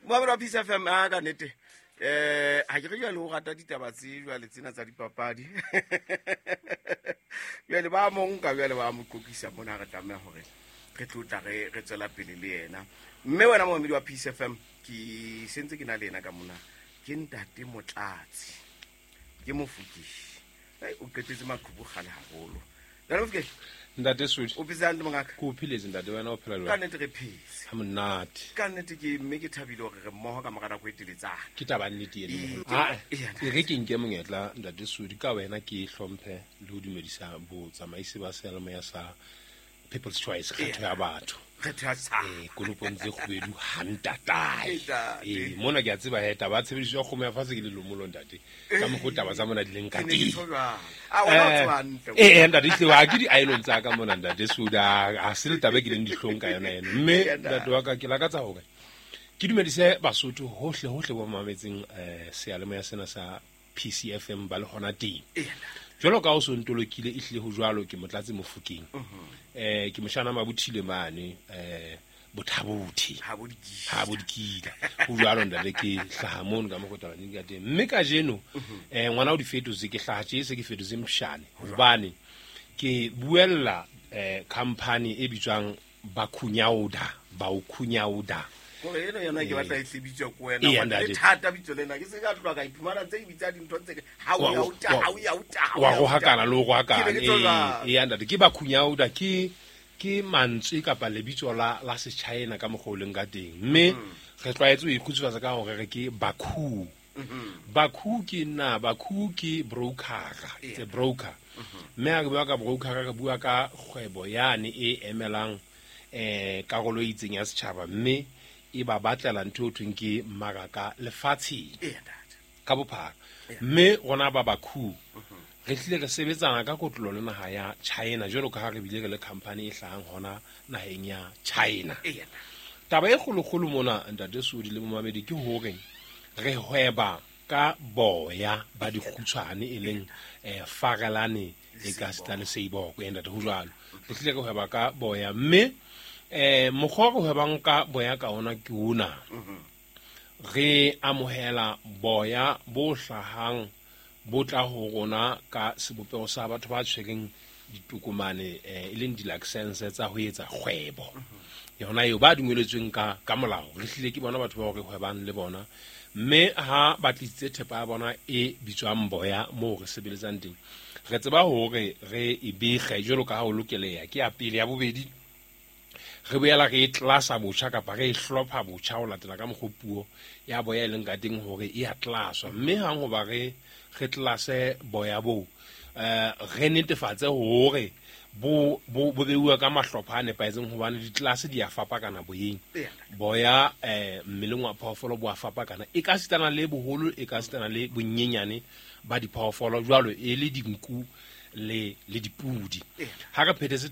Moabelo wa Peace FM, a ka nnete ha ke re jwale o rata ditaba tse jwale tsena tsa dipapadi. Jwale ba mo nka, jwale ba mo qoqisa mona, re tlameha hore re tlo tla re tswela pele le yena. Mme wena momamedi wa Peace FM, ke sentse ke na le yena ka mona, ke ntate Motlatsi, ke Mofokeng. O qetetse maqhubu kgale haholo. Ntate Mofokeng. Ntate Sodi. O phetse hantle, mongaka? Ke o pheletse, ntate. Wena o phela jwang? Ka nnete re phetse. Ha monate. Ka nnete ke mme ke thabile hore re mmoho ka mora nako e teletsana. Ke taba nnete eno, moholo. E re ke nke monyetla, ntate Sodi, ka wena ke hlomphe le ho dumedisa botsamaisi ba seyalemoya sa People's Choice, kgetho ya batho. Kgetho ya setjhaba. Konopong tse kgubedu ha ntatae. Mona ke a tseba he taba ya tshebediso ya kgomo ya fatshe ke lelomolo, ntate. Ka mokgwa taba tsa mona di leng ka Ke ne ke teng. tjho jwalo. A, wena o tseba hantle. Ntate, ehlile ha ke di-iron tsa ka mona, ntate Sodi, ha se le taba e ke leng dihlong ka yona eno. Mme Eya, ntate. ntate wa ka, ke lakatsa hore ke dumedise Basotho hohle hohle ba mametseng seyalemoya sena sa PCFM ba le hona teng. Jwalo ka o so ntolokile, ehlile ho jwalo, ke Motlatsi Mofokeng. Ke moshana Mabuthile mane Bothabothe. Ha bo dikila. Ha bo dikila. Ho jwalo, ntate, ke hlaha mono ka mokgwa taba ka teng. Mme kajeno ngwana o di fetotse, ke hlaha tje se ke fetotse mshane hobane ke buella company e bitswang Bakhunyauda, Baukhunyauda. Kore eno yona ke batla e tle bitswa ko wena. Eya, Hobane le ntate. thata bitso lena. Ke se ka tloha ka iphumana ntse ke bitsa dintho tse ke ha o ya o ta, ha o ya o ta, ha o Wa ya o ta. rohakana le ho rohakana. Ke ne ke tlo jwalo. Eya, ntate, ke Bakhunyauda, ke mantswe kapa lebitso la Sechina ka mokgwa o leng ka teng. Mme re tlwaetse ho ikgutsufatsa ka hore re ke Bakhu. Bakhu ke nna, Bakhu ke brokera, it's a broker. Mme ha re bua ka broker, re bua ka kgwebo yane e emelang karolo e itseng ya setjhaba, mme e ba batlela ntho e ho thweng ke mmaraka lefatsheng Eya, ntate. ka bophara. Mme rona ba Bakhu re hlile re sebetsana ka kotlolo le naha ya China, jwalo ka ha re bile re le company e hlahang hona naheng ya China. Eya, ntate. Taba e kgolokgolo mona, ntate Sodi le momamedi, ke hore re hweba ka boya ba dikgutshwane, e leng farelane e ka seta le seiboko. Ntate, ho jwalo, re hlile re hweba ka boya, mme mokgwa o re hwebang ka boya ka ona ke ona. Re amohela boya bo hlahang bo tla ho rona ka sebopeho sa batho ba tshwereng ditokomane, e leng di-license tsa ho etsa kgwebo. Yona eo ba dumeletsweng ka molao, re hlile ke bona batho bao re hwebang le bona. Mme ha ba tlisitse thepa ya bona e bitswang boya moo re sebeletsang teng, re tseba hore re e bege jwalo ka ha ho lokeleha. Ke ya pele. Ya bobedi, re boela re e tlasa botjha kapa re e hlopha botjha ho latela ka mokgwa puo ya boya e leng ka teng hore e a tlaswa. Mme hang hoba re tlase boya boo, re netefatse hore bo beuwa ka mahlopha a nepahetseng, hobane ditlelase di a fapakana boyeng. Boya mmeleng wa phoofolo bo a fapakana, e ka sitana le boholo, e ka sitana le bonyenyane ba diphoofolo, jwalo e le dinku le dipudi. Ha re phethetse